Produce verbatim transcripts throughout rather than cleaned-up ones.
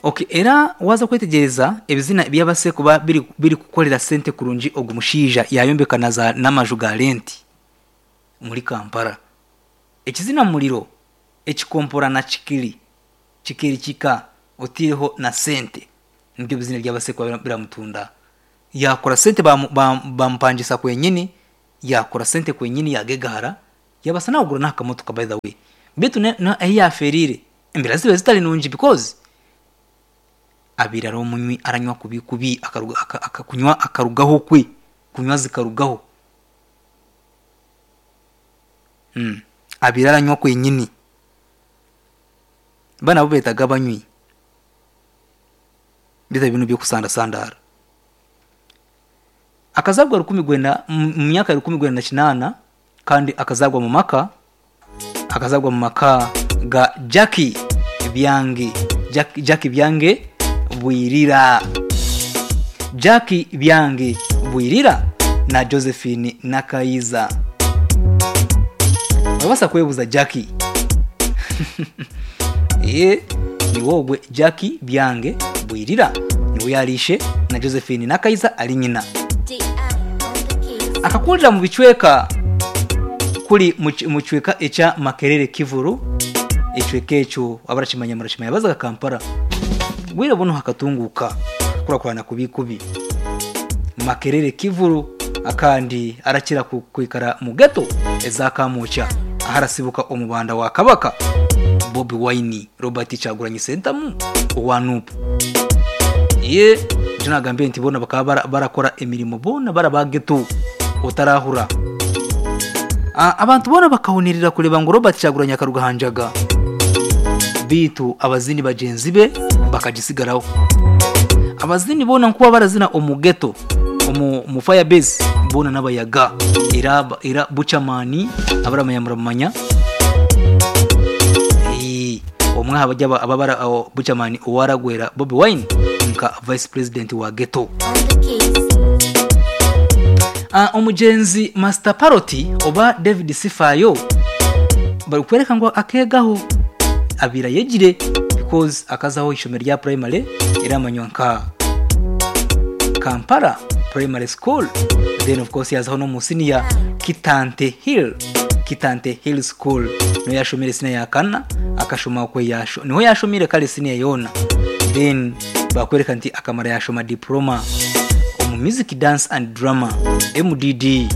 Okay, era waza kwetegyereza ebizina byabase kuba biri, biri kukorera sente kurungi. Ogu mushaija yayombeka na za n'amaju ga renti muri Kampala. Ekizina Muriro, ekikompora na kikiri kikiri kika otiireho na sente, nibyo bizina byabase kuba biramutunda. Yakora sente, bamupangisa kwenyini, yakora sente kwenyini, yagegahara, yabasa nakugura n'akamotoka. By the way, bitu ahi yaferire embera zibe zitari nungi, because abaire ari omunywi, aranywa kubi kubi, kunywa akarugaho kwe kunywa zikarugaho. mm. Abaire aranywa kwenyini. Bana abo betaga abanywi bita bino byokusandasandara. Akazagwa rukumi gwenda mu myaka ya rukumi gwenda na kinaana, kandi akazagwa mu maka akazagwa mu maka ga Jackie Byange, Jack, Jackie Byange Bwirira, Jackie Byange Bwirira na Josephine Nakayiza. Babasa kwebuza Jackie ye ni wogwe. Jackie Byange Bwirira niwe yarishe, na Josephine Nakayiza ari nyina. Akakurira mu bicweka kuri mu cicweka ekya Makerere Kivuru. Ecweka ekyo abarakimanya murakimanya, bazaga Kampala bwire buno hakatunguka kurakurana kubi kubi. Makerere Kivuru, akandi arakira kwikara mu ghetto ezakamukya, aho arasibuka omubanda wa Kabaka Bobi Wine, Robert Kyagulanyi Ssentamu owa N U P. Ye nicyo nagambye nti bona bakaba barakora emirimo, bona baraba ghetto otarahura. Abantu bona bakahunirira kureba ngo Robert Kyagulanyi akaruga hanjaga, bitu abazini bagenzi be bakagisigaraho. Abazini bona nkuba barazina omu ghetto, omu mu fire base, bona n'abayaga era era Buchamani abaramanya muramanya. Omwe abajya ababara Buchamani owaragwera Bobi Wine nka vice president wa ghetto. Uh, omugenzi Master Paroti oba David Sifayo bari kwereka ngo akegaho abira yegire, because akazaho ishomero rya primary eramanywa nka Kampala Primary School. Then of course yazaho no mu senior, Kitante Hill Kitante Hill School, niho yashomire senior ya kana, akashoma kwe yasho niho yashomire kale senior yona. Then bakwereka nti akamara yashoma diploma omu music, dance and drama, M D D,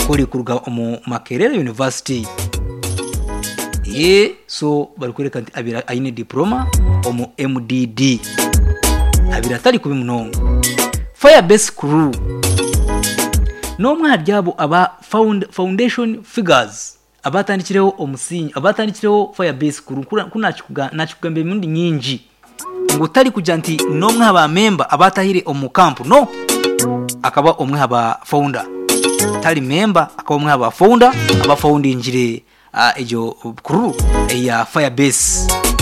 kuri kuruga omu Makerere University. Ye so bari kwereka nti abira aine diploma omu M D D, abira atari kubi munonga. Firebase Crew, n'omwe ahari abo aba found, foundation figures abatandikireho omusingi, abatandikireho Firebase Crew. Ku nakikugamba emirundi nyingi ngu utari kugira nti n'omwe aha member abatahire omu camp, no akaba omwe aba founder, tari member, akaba omwe aba founder abafoundingire uh, ejo crew ya Firebase.